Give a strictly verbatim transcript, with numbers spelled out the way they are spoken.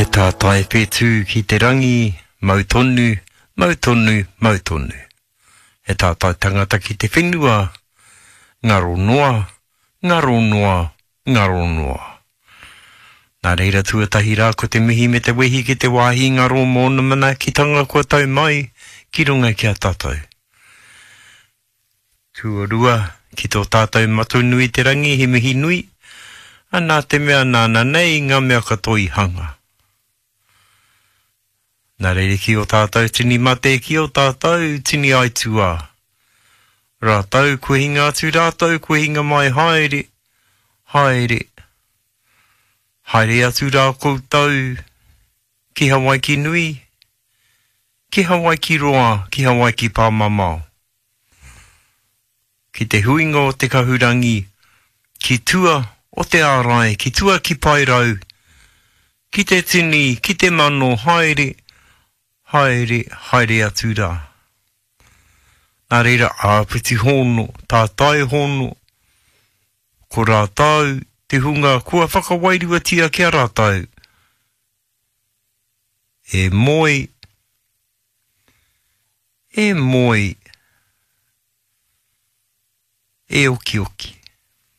He tātai whetū ki te rangi, mau tonu, mau tonu, mau tonu. He tātai tangata ki te whenua, ngaro noa, ngaro noa, ngaro noa. Nā reira tuatahi rā ko te mihi me te wehi ki te wāhi ngaro mōna manaakitanga kua tau mai ki runga ki a tātou. Tuarua, ki tō tātou Matua nui te rangi he mihi nui, a nā te mea nāna nei ngā mea katoa i hanga. Nā reira ki o tātou tini mate, ki o tātou tini aituā. Rātou kua hinga atu, rātou kua hinga mai, haere, haere, haere atu rā koutou ki Hawaiki nui, ki Hawaiki roa, ki Hawaiki pāmamao. Ki te huinga o te kahurangi, ki tua o te ārai, ki tua ki Paerau, ki te tini, ki te mano, haere, haere, haere atu rā. Nā reira, āpiti hono, tātai hono, ko rātou te hunga kua whakawairuatia ki a rātou. E moe, e moe, e okioki.